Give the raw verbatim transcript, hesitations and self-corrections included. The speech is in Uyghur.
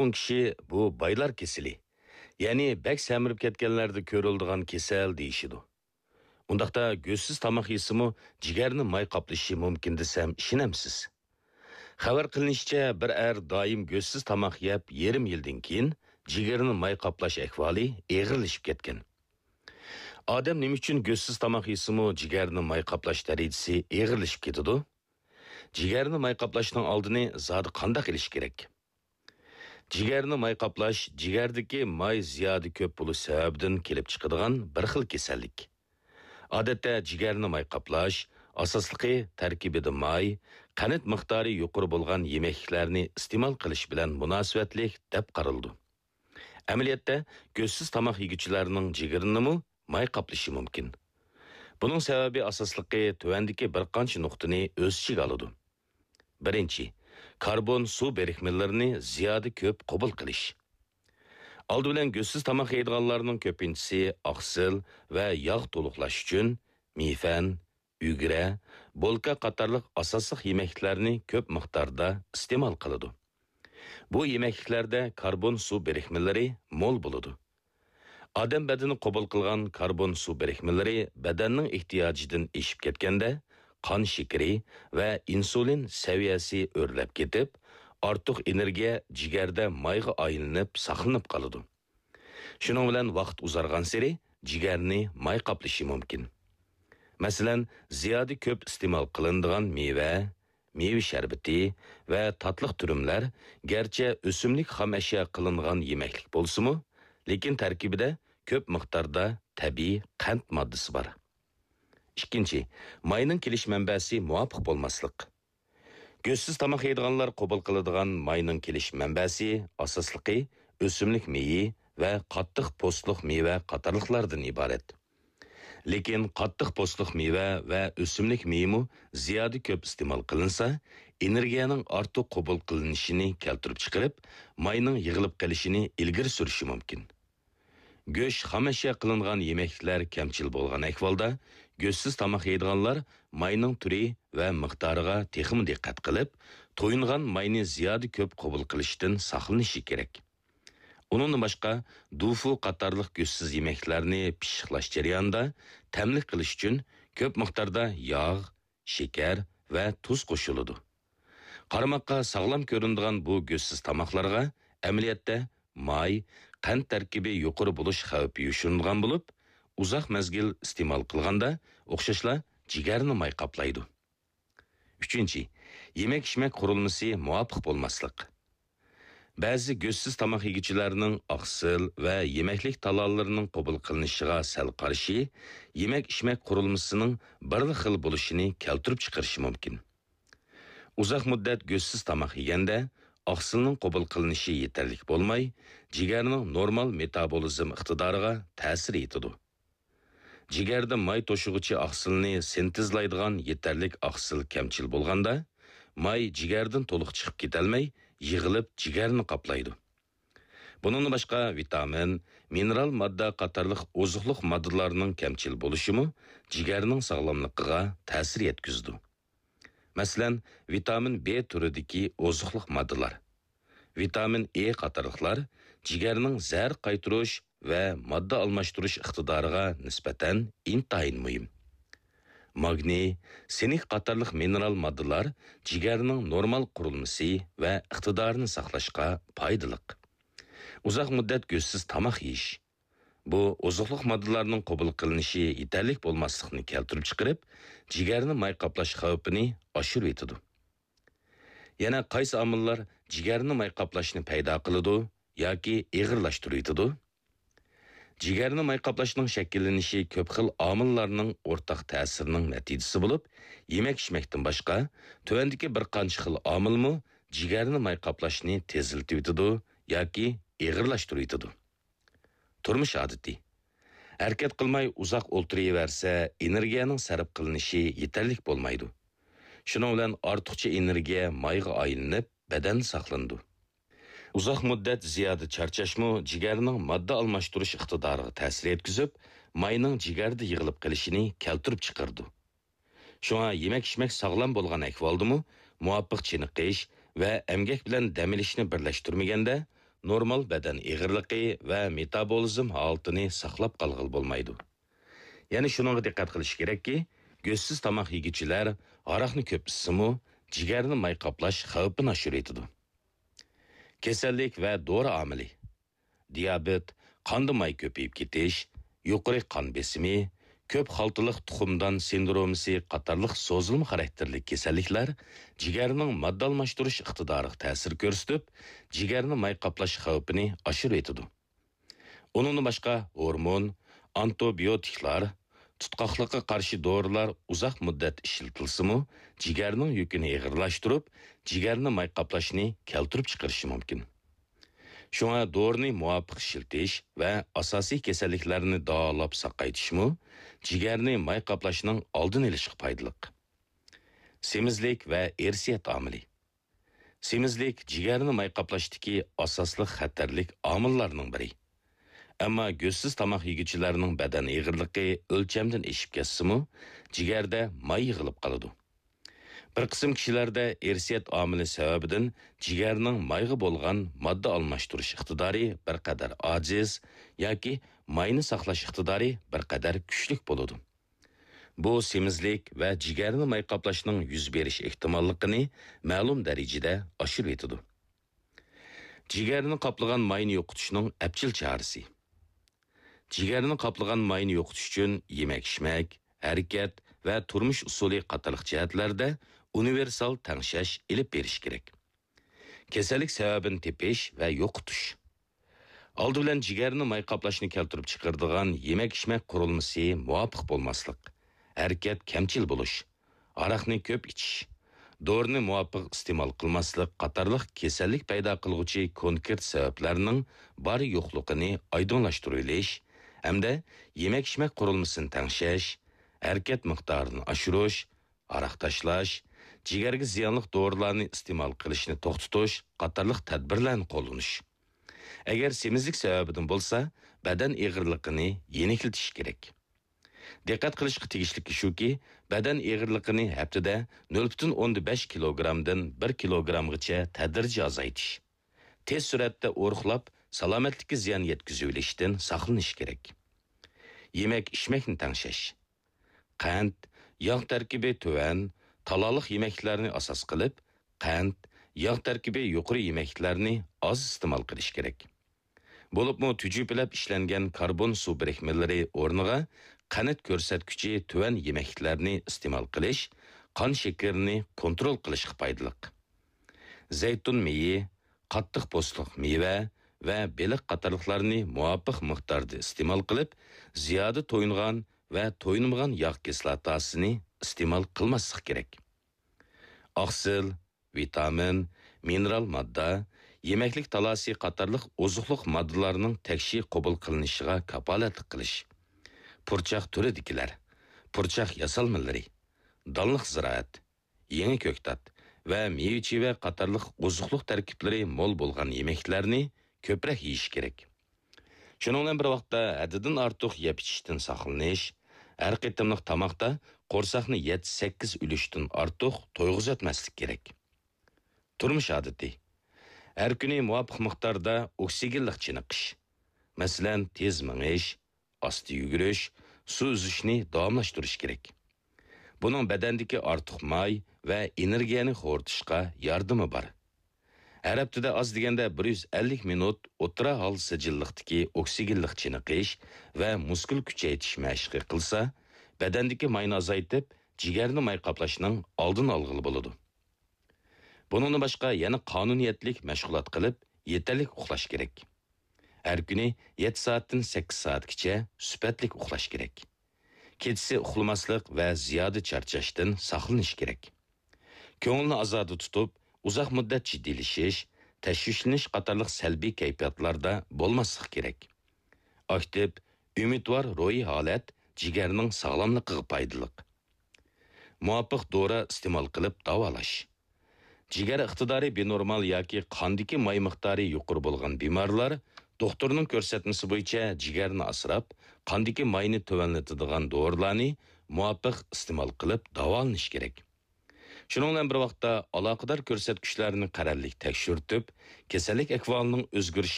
نۇرغۇن كىشى بۇ بايلار كېسىلى، يەنى بەك سەمرىپ كەتكەنلەردە كۆرۈلىدىغان كېسەل دېيىشىدۇ. ئۇنداقتا گۆشسىز تاماق يېسىمۇ جىگەرنى ماي قاپلىشى مۇمكىن دېسەم ئىشىنەمسىز؟ خەۋەر قىلىنىشىچە، بىر ئەر دائىم گۆشسىز تاماق يەپ يېرىم يىلدىن كېيىن جىگىرىنى ماي قاپلاش ئەھۋالى ئېغىرلىشىپ كەتكەن. ئادەم نېمە ئۈچۈن گۆشسىز تاماق يېسىمۇ جىگەرنى ماي قاپلاش دەرىجىسى ئېغىرلىشىپ كېتىدۇ؟ جىگەرنى ماي قاپلاشنىڭ ئالدىنى زادى قانداق ئېلىش كېرەك؟ جىگەرنى ماي قاپلاش جىگەردىكى ماي زىيادە كۆپ بولۇش سەۋەبىدىن كېلىپ چىقىدىغان بىر خىل كېسەللىك. ئادەتتە جىگەرنى ماي قاپلاش، ئاساسلىقى تەركىبىدە ماي، قەنت مىقدارى يۇقىرى بولغان يېمەكلىكلەرنى ئىستېمال قىلىش بىلەن مۇناسىۋەتلىك دەپ قارىلىدۇ. ئەمەلىيەتتە، گۆشسىز تاماق يېگۈچىلەرنىڭ جىگىرىنىمۇ ماي قاپلىشى مۇمكىن. بۇنىڭ سەۋەبى ئاساسلىقى تۆۋەندىكى بىر قانچە نۇقتىنى ئۆز ئىچىگە ئالىدۇ. بىرىنچى، كاربون سۇ بىرىكمىلىرىنى زىيادە كۆپ قوبۇل قىلىش. ئالدى بىلەن گۆشسىز تاماق يەيدىغانلارنىڭ كۆپىنچىسى ئاقسىل ۋە ياغ تولۇقلاش ئۈچۈن مىفەن، ئۈگرە، بولكا قاتارلىق ئاساسلىق يېمەكلىكلەرنى كۆپ مىقداردا ئىستېمال قىلىدۇ. بۇ يېمەكلىكلەردە كاربون سۇ بىرىكمىلىرى مول بولىدۇ. ئادەم بەدىنى قوبۇل قىلغان كاربون سۇ بىرىكمىلىرى بەدەننىڭ ئېھتىياجىدىن ئېشىپ كەتكەندە، قان شېكىرى ۋە ئىنسۇلىن سەۋىيەسى ئۆرلەپ كېتىپ، ئارتۇق ئېنېرگىيە جىگەردە مايغا ئايلىنىپ ساقلىنىپ قالىدۇ. شۇنىڭ بىلەن ۋاقىت ئۇزارغانسېرى جىگەرنى ماي قاپلىشى مۇمكىن. مەسىلەن، زىيادە كۆپ ئىستېمال قىلىنىدىغان مېۋە، مېۋە شەربىتى ۋە تاتلىق تۈرۈملەر گەرچە ئۆسۈملۈك خام ئەشيا قىلىنغان يېمەكلىك بولسىمۇ، لېكىن تەركىبىدە كۆپ مىقداردا تەبىئىي قەنت ماددىسى بار. ئىككىنچى، ماينىڭ كېلىش مەنبەسى مۇۋاپىق بولماسلىق. گۆشسىز تاماق يەيدىغانلار قوبۇل قىلىدىغان ماينىڭ كېلىش مەنبەسى ئاساسلىقى ئۆسۈملۈك مېيى ۋە قاتتىق پوستلۇق مېۋە قاتارلىقلاردىن ئىبارەت. لېكىن قاتتىق پوستلۇق مېۋە ۋە ئۆسۈملۈك مېيىمۇ زىيادە كۆپ ئىستېمال قىلىنسا، ئېنېرگىيەنىڭ ئارتۇق قوبۇل قىلىنىشىنى كەلتۈرۈپ چىقىرىپ، ماينىڭ يىغىلىپ قېلىشىنى ئىلگىرى سۈرۈشى مۇمكىن. گۆش، خام ئەشيا قىلىنغان يېمەكلىكلەر كەمچىل بولغان ئەھۋالدا، گۆشسىز تاماق يەيدىغانلار ماينىڭ تۈرى ۋە مىقدارىغا تېخىمۇ دىققەت قىلىپ، تويۇنغان ماينى زىيادە كۆپ قوبۇل قىلىشتىن ساقلىنىشى كېرەك. ئۇنىڭدىن باشقا، دۇفۇ قاتارلىق گۆشسىز يېمەكلىكلەرنى پىششىقلاش جەريانىدا تەملىك قىلىش ئۈچۈن كۆپ مىقداردا ياغ، شېكەر ۋە تۇز قوشۇلىدۇ. قارىماققا ساغلام كۆرۈنىدىغان بۇ گۆشسىز تاماقلارغا ئەمەلىيەتتە ماي، قەنت تەركىبى يۇقىرى بولۇش خەۋپى يوشۇرۇنغان بولۇپ، ئۇزاق مەزگىل ئىستېمال قىلغاندا ئوخشاشلا جىگەرنى ماي قاپلايدۇ. ئۈچىنچى، يېمەك-ئىچمەك قۇرۇلمىسى مۇۋاپىق بولماسلىق. بەزى گۆشسىز تاماق يېگۈچىلەرنىڭ ئاقسىل ۋە يېمەكلىك تالالىرىنىڭ قوبۇل قىلىنىشىغا سەل قارشى، يېمەك-ئىچمەك قۇرۇلمىسىنىڭ بىرلا خىل بولۇشىنى كەلتۈرۈپ چىقىرىشى مۇمكىن. ئۇزاق مۇددەت گۆشسىز تاماق يېگەندە، ئاقسىلنىڭ قوبۇل قىلىنىشى يېتەرلىك بولماي، جىگەرنىڭ نورمال مېتابولىزم ئىقتىدارىغا تەسىر يېتىدۇ. جىگەردە ماي توشۇغۇچى ئاقسىلنى سىنتېزلايدىغان يېتەرلىك ئاقسىل كەمچىل بولغاندا، ماي جىگەردىن تولۇق چىقىپ كېتەلمەي، يىغىلىپ جىگەرنى قاپلايدۇ. بۇنىڭدىن باشقا، ۋىتامىن، مىنېرال ماددا قاتارلىق ئوزۇقلۇق ماددىلارنىڭ كەمچىل بولۇشىمۇ جىگەرنىڭ ساغلاملىقىغا تەسىر يەتكۈزىدۇ. مەسىلەن، ۋىتامىن بې تۈرىدىكى ئوزۇقلۇق ماددىلار، ۋىتامىن ئې قاتارلىقلار جىگەرنىڭ زەھەر قايتۇرۇش ۋە ماددا ئالماشتۇرۇش ئىقتىدارىغا نىسبەتەن ئىنتايىن مۇھىم. ماگنىي، سىنك قاتارلىق مىنېرال ماددىلار جىگەرنىڭ نورمال قۇرۇلمىسى ۋە ئىقتىدارىنى ساقلاشقا پايدىلىق. ئۇزاق مۇددەت گۆشسىز تاماق يېيىش. بۇ ئوزۇقلۇق ماددىلارنىڭ قوبۇل قىلىنىشى يېتەرلىك بولماسلىقنى كەلتۈرۈپ چىقىرىپ، جىگەرنى ماي قاپلاش خەۋپىنى ئاشۇرۇۋېتىدۇ. يەنە قايسى ئامىللار جىگەرنى ماي قاپلاشنى پەيدا قىلىدۇ ياكى ئېغىرلاشتۇرۇۋېتىدۇ؟ جىگەرنى ماي قاپلاشنىڭ شەكىللىنىشى كۆپ خىل ئامىللارنىڭ ئورتاق تەسىرىنىڭ نەتىجىسى بولۇپ، يېمەك-ئىچمەكتىن باشقا، تۆۋەندىكى بىر قانچە خىل ئامىلمۇ جىگەرنى ماي قاپلاشنى تېزلىتىۋېتىدۇ ياكى ئېغىرلاشتۇرۇۋېتىدۇ. تۇرمۇش ئادىتى. ھەرىكەت قىلماي ئۇزاق ئولتۇرۇۋەرسە، ئېنېرگىيەنىڭ سەرپ قىلىنىشى يېتەرلىك بولمايدۇ. شۇنىڭ بىلەن ئارتۇقچە ئېنېرگىيە مايغا ئايلىنىپ، بەدەندە ساقلىنىدۇ. ئۇزاق مۇددەت زىيادە چارچاشمۇ جىگەرنىڭ ماددا ئالماشتۇرۇش ئىقتىدارىغا تەسىر يەتكۈزۈپ، ماينىڭ جىگەردە يىغىلىپ قېلىشىنى كەلتۈرۈپ چىقىرىدۇ. شۇڭا يېمەك-ئىچمەك ساغلام بولغان ئەھۋالدىمۇ، مۇۋاپىق چېنىقىش ۋە ئەمگەك بىلەن دەم ئېلىشنى بىرلەشتۈرمىگەندە، نورمال بەدەن ئېغىرلىقى ۋە مېتابولىزم ھالىتىنى ساقلاپ قالغىلى بولمايدۇ. يەنە شۇنىڭغا دىققەت قىلىش كېرەككى، گۆشسىز تاماق يېگۈچىلەر ھاراقنى كۆپ ئىچسىمۇ، جىگەرنى ماي قاپلاش خەۋپىنى ئاشۇرۇۋېتىدۇ. كېسەللىك ۋە دورا ئامىلى. دىيابېت، قاندا ماي كۆپىيىپ كېتىش، يۇقىرى قان بېسىمى، كۆپ خالتىلىق تۇخۇمدان سىندرومىسى قاتارلىق سوزۇلما خاراكتېرلىك كېسەللىكلەر جىگەرنىڭ ماددا ئالماشتۇرۇش ئىقتىدارىغا تەسىر كۆرسىتىپ، جىگەرنى ماي قاپلاش خەۋپىنى ئاشۇرۇۋېتىدۇ. ئۇنىڭدىن باشقا ھورمون، ئانتىبىيوتىكلار، تۇتقاقلىققا قارشى دورىلار ئۇزاق مۇددەت ئىشلىتىلسىمۇ، جىگەرنىڭ يۈكىنى ئېغىرلاشتۇرۇپ، جىگەرنى ماي قاپلاشنى كەلتۈرۈپ چىقىرىشى مۇمكىن. شۇڭا دورىنى مۇۋاپىق ئىشلىتىش ۋە ئاساسىي كېسەللىكلەرنى داۋالاپ ساقايتىشمۇ جىگەرنى ماي قاپلاشنىڭ ئالدىنى ئېلىشقا پايدىلىق. سېمىزلىك ۋە ئىرسىيەت ئامىلى. سېمىزلىك جىگەرنى ماي قاپلاشتىكى ئاساسلىق خەتەرلىك ئامىللارنىڭ بىرى. ئەمما گۆشسىز تاماق يېگۈچىلەرنىڭ بەدەن ئېغىرلىقى ئۆلچەمدىن ئېشىپ كەتسىمۇ، جىگەردە ماي يىغىلىپ قالىدۇ. بىر قىسىم كىشىلەردە ئىرسىيەت ئامىلى سەۋەبىدىن جىگەرنىڭ مايغا بولغان ماددا ئالماشتۇرۇش ئىقتىدارى بىر قەدەر ئاجىز ياكى ماينى ساقلاش ئىقتىدارى بىر قەدەر كۈچلۈك بولىدۇ. بۇ سېمىزلىك ۋە جىگەرنى ماي قاپلاشنىڭ يۈز بېرىش ئېھتىماللىقىنى مەلۇم دەرىجىدە ئاشۇرۇۋېتىدۇ. جىگەرنى قاپلىغان ماينى يوقىتىشنىڭ ئەپچىل چارىسى. جىگەرنى قاپلىغان ماينى يوقىتىش ئۈچۈن يېمەك-ئىچمەك، ھەرىكەت ۋە تۇرمۇش ئۇسۇلى قاتارلىق جەھەتلەردە ئۇنىۋېرسال تەڭشەش ئېلىپ بېرىش كېرەك. كېسەللىك سەۋەبىنى تېپىش ۋە يوقىتىش. ئالدى بىلەن جىگەرنى ماي قاپلاشنى كەلتۈرۈپ چىقىرىدىغان يېمەك-ئىچمەك قۇرۇلمىسى مۇۋاپىق بولماسلىق، ھەرىكەت كەمچىل بولۇش، ھاراقنى كۆپ ئىچىش، دورىنى مۇۋاپىق ئىستېمال قىلماسلىق قاتارلىق كېسەللىك پەيدا قىلغۇچى كونكرېت سەۋەبلەرنىڭ بار يوقلۇقىنى ئايدىڭلاشتۇرۇۋېلىش ھەمدە يېمەك-ئىچمەك قۇرۇلمىسىنى تەڭشەش، ھەرىكەت مىقدارىنى ئاشۇرۇش، ھاراق تاشلاش، جىگەرگە زىيانلىق دورىلارنى ئىستېمال قىلىشنى توختىتىش قاتارلىق تەدبىرلەرنى قوللىنىش. ئەگەر سېمىزلىك سەۋەبىدىن بولسا، بەدەن ئېغىرلىقىنى يېنىكلىتىش كېرەك. دىققەت قىلىشقا تېگىشلىكى شۇكى، بەدەن ئېغىرلىقىنى ھەپتىدە نۆل پۈتۈن ئوندىن بەش كىلوگرامدىن بىر كىلوگرامغىچە تەدرىجىي ئازايتىش، تېز سۈرئەتتە ئورۇقلاپ، سالامەتلىككە زىيان يەتكۈزۈۋېلىشتىن ساقلىنىش كېرەك. يېمەك-ئىچمەكنى تەڭشەش. قەنت، ياغ تەركىبى تۆۋەن، تالالىق يېمەكلىكلەرنى ئاساس قىلىپ، قەنت، ياغ تەركىبى يۇقىرى يېمەكلىكلەرنى ئاز ئىستېمال قىلىش كېرەك. بولۇپمۇ تۈجۈپىلەپ ئىشلەنگەن كاربون سۇ بىرىكمىلىرى ئورنىغا قەنت كۆرسەتكۈچى تۆۋەن يېمەكلىكلەرنى ئىستېمال قىلىش قان شېكىرىنى كونترول قىلىشقا پايدىلىق. زەيتۇن مېيى، قاتتىق پوستلۇق مېۋە ۋە بېلىق قاتارلىقلارنى مۇۋاپىق مىقداردا ئىستېمال قىلىپ، زىيادە تويۇنغان ۋە تويۇنمىغان ياغ كىسلاتاسىنى ئىستېمال قىلماسلىق كېرەك. ئاقسىل، ۋىتامىن، مىنېرال ماددا، يېمەكلىك تالاسى قاتارلىق ئوزۇقلۇق ماددىلارنىڭ تەكشى قوبۇل قىلىنىشىغا كاپالەتلىك قىلىش. پۇرچاق تۈرىدىكىلەر، پۇرچاق ياسالمىلىرى، دانلىق زىرائەت، يېڭى كۆكتات ۋە مېۋە-چېۋە قاتارلىق ئوزۇقلۇق تەركىبلىرى مول بولغان يېمەكلەرنى كۆپرەك يېيىش كېرەك. شۇنىڭ بىلەن بىر ۋاقىتتا، ھەددىدىن ئارتۇق يەپ ئىچىشتىن ساقلىنىش، ھەر قېتىملىق تاماقتا قورساقنى يەتتە-سەككىز ئۈلۈشتىن ئارتۇق تويغۇزۇۋەتمەسلىك كېرەك. تۇرمۇش ئادىتى. ھەر كۈنى مۇۋاپىق مىقداردا ئوكسىگېنلىق چېنىقىش. مەسىلەن، تېز مېڭىش، ئاستا يۈگۈرۈش، سۇ ئۈزۈشنى داۋاملاشتۇرۇش كېرەك. بۇنىڭ بەدەندىكى ئارتۇق ماي ۋە ئېنېرگىيەنى خورىتىشقا ياردىمى بار. ھەر ھەپتىدە ئاز دېگەندە بىر يۈز ئەللىك مىنۇت ئوتتۇرا ھال سىجىللىقتىكى ئوكسىگېنلىق چېنىقىش ۋە مۇسكۇل كۈچەيتىش مەشقى قىلسا، بەدەندىكى ماينى ئازايتىپ، جىگەرنى ماي قاپلاشنىڭ ئالدىنى ئالغىلى بولىدۇ. بۇنىڭدىن باشقا يەنە قانۇنىيەتلىك مەشغۇلات قىلىپ، يېتەرلىك ئۇخلاش كېرەك. ھەر كۈنى يەتتە سائەتتىن سەككىز سائەتكىچە سۈپەتلىك ئۇخلاش كېرەك. كېچىسى ئۇخلىماسلىق ۋە زىيادە چارچاشتىن ساقلىنىش كېرەك. كۆڭۈلنى ئازادە تۇتۇپ، ئۇزاق مۇددەت جىددىيلىشىش، تەشۋىشلىنىش قاتارلىق سەلبىي كەيپىياتلاردا بولماسلىق كېرەك. ئاكتىپ، ئۈمىدۋار روھىي ھالەت جىگەرنىڭ ساغلاملىقىغا پايدىلىق. مۇۋاپىق دورا ئىستېمال قىلىپ داۋالاش. جىگەر ئىقتىدارى بىنورمال ياكى قاندىكى ماي مىقدارى يۇقىرى بولغان بىمارلار دوختۇرنىڭ كۆرسەتمىسى بويىچە جىگەرنى ئاسراپ، قاندىكى ماينى تۆۋەنلىتىدىغان دورىلارنى مۇۋاپىق ئىستېمال قىلىپ داۋالىنىشى كېرەك. شۇنىڭ بىلەن بىر ۋاقىتتا، ئالاقىدار كۆرسەتكۈچلەرنى قەرەللىك تەكشۈرتۈپ، كېسەللىك ئەھۋالىنىڭ ئۆزگىرىش